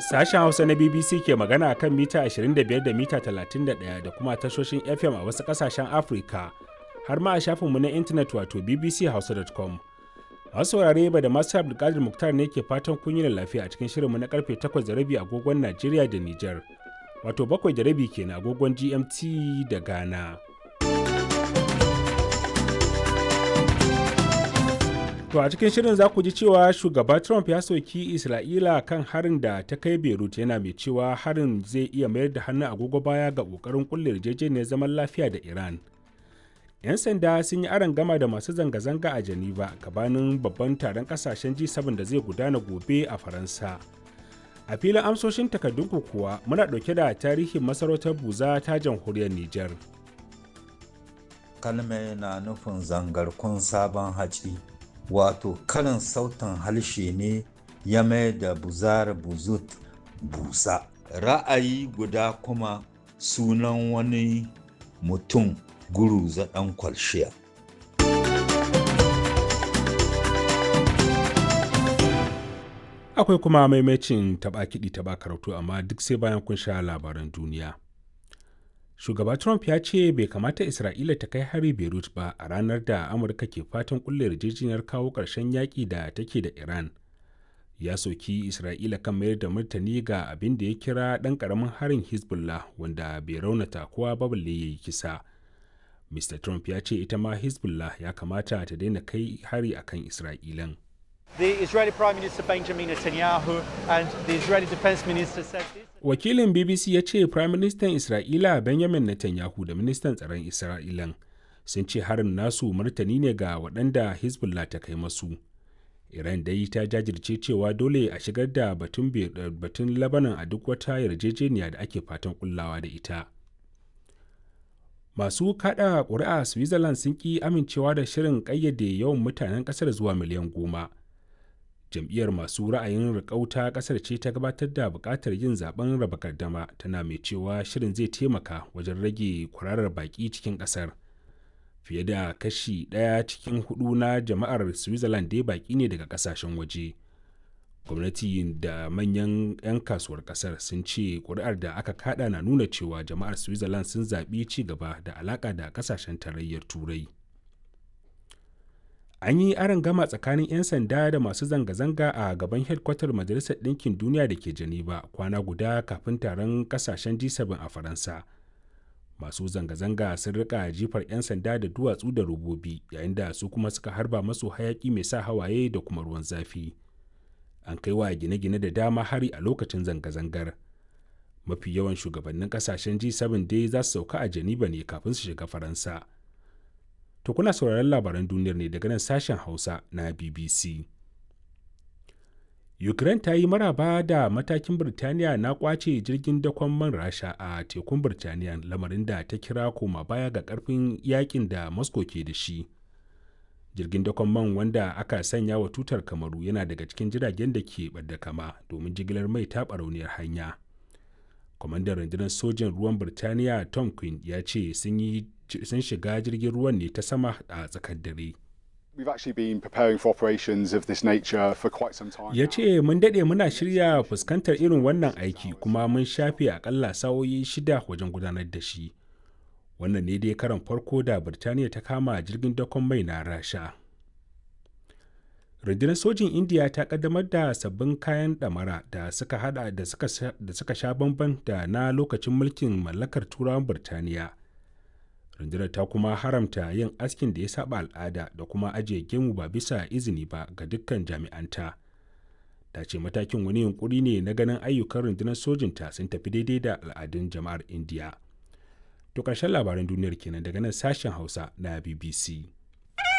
Sashen Hausa na BBC ke magana kan mita 25 da mita 31 da kuma tashoshin FM a wasu ƙasashen Afirka, har ma a shafinmu na intanet wato bbchausa.com. Masu saurare ba da masu Abdulkadir Muktar ne ke fatan kun yi lafiya a cikin shirinmu na karfe 8:30 agogon Najeriya da Nijar, wato 7:30 kenan agogon GMT da Ghana. To a cikin shirin za ku ji cewa shugaba Trump ya soki Isra'ila kan harin da ta kai Beirut, yana mai cewa harin zai iya mayar da hannun agogo baya ga ƙoƙarin kulle yarjejeniyar zaman lafiya da Iran. 'Yan sanda sun yi aron gama da masu zanga-zanga a Geneva gabanin babban taron kasashen G7 da zai gudana gobe a Faransa. A filin amsoshin takardunku kuwa muna ɗauke da tarihin masarautar Buza ta jamhuriyar Nijar. Kalme na nufin zangarkun sabon haci. Wato karin sautin harshe ne ya mai da buzar buzut busa. Ra'ayi guda kuma sunan wani mutum Guruza ɗan kwalshiya. Akwai kuma maimacin taɓa kiɗi taɓa karatu, amma duk sai bayan kun sha labaran duniya. Shugaba Trump ya ce bai kamata Isra'ila ta kai hari Beirut ba a ranar da Amurka ke fatan kulle yarjejeniyar kawo ƙarshen yaƙi da take da Iran. Ya soki Isra'ila kan mayar da martani ga abin da ya kira ɗan ƙaramin harin Hezbollah wanda bai raunata kowa ba balle ya yi kisa. Mr. Trump ya ce ita ma Hezbollah ya kamata ta daina kai hari akan Isra'ilan. The Israeli Prime Minister Benjamin Netanyahu and the Israeli Defense Minister said this. Wakilin BBC ya ce Prime Minister Isra'ila Benjamin Netanyahu da Ministan Tsaron Isra'ilan sun ce harin nasu martani ne ga waɗanda Hezbollah ta kai masu. Iran dai ta jajirce cewa dole a shigar da batun, batun Lebanon a duk wata yarjejeniya da ake fatan kullawa da ita. Masu kada ƙuri'a Switzerland sun ƙi amincewa da shirin ƙayyade yawan mutanen ƙasar zuwa miliyan 10. Jam'iyyar masu ra'ayin riƙau ƙasar ce ta gabatar da buƙatar yin zaben raba gardama, tana mai cewa shirin zai taimaka wajen rage kwararar baƙi cikin ƙasar. Fiye da kashi ɗaya cikin hudu na jama'ar Switzerland dai baƙi ne daga ƙasashen waje. Gwamnati da manyan 'yan kasuwar ƙasar sun ce ƙuri'ar da aka kada na nuna cewa jama'ar Switzerland sun zaɓi ci gaba da alaƙa da ƙasashen Tarayyar Turai. An yi aron gama tsakanin 'yan sanda da masu zanga-zanga a gaban hedkwatar Majalisar Ɗinkin Duniya da ke Geneva, kwana guda kafin taron kasashen G7 a Faransa. Masu zanga-zanga sun rika jifar 'yan sanda da duwatsu da robobi, yayin da su kuma suka harba masu hayaki mai sa hawaye da kuma ruwan zafi. An kai wa gine-gine da dama hari a lokacin zanga-zangar. Mafi yawan shugabannin kasashen G7 dai za su sauka a Geneva ne kafin su shiga Faransa. To kuna sauraron labaran duniyar ne daga nan sashen Hausa na BBC. Ukraine ta yi maraba da matakin Birtaniya na kwace jirgin dakon man Rasha a tekun Birtaniya, lamarin da ta kira koma baya ga karfin yakin da Moscow ke da shi. Jirgin dakon man wanda aka sanya wa tutar Kamaru yana daga cikin jiragen da ke ɓadda kama domin jigilar mai ta barauniyar hanya. Kwamandan rundunar sojin ruwan Birtaniya Tom Quinn ya ce sun shiga jirgin ruwan ne ta sama a tsakar dare. Ya ce mun daɗe muna shirya fuskantar irin wannan aiki, kuma mun shafe akalla sa'o'i 6 wajen gudanar da shi. Wannan ne dai karan farko da Birtaniya ta kama jirgin dakon mai na Rasha. Rundunar sojin Indiya ta kaddamar da sabbin kayan ɗamara da suka hada da suka sha bamban da na lokacin mulkin mallakar Turawan Birtaniya. Rundunar ta kuma haramta yin askin da ya saba al'ada da kuma ajiye gemu ba bisa izini ba ga dukkan jami'anta. Ta ce matakin wani yunkuri ne na ganin ayyukan rundunar sojinta sun tafi daidai da al'adun jama'ar Indiya. To ƙarshen labaran duniyar kenan daga nan sashen Hausa na BBC.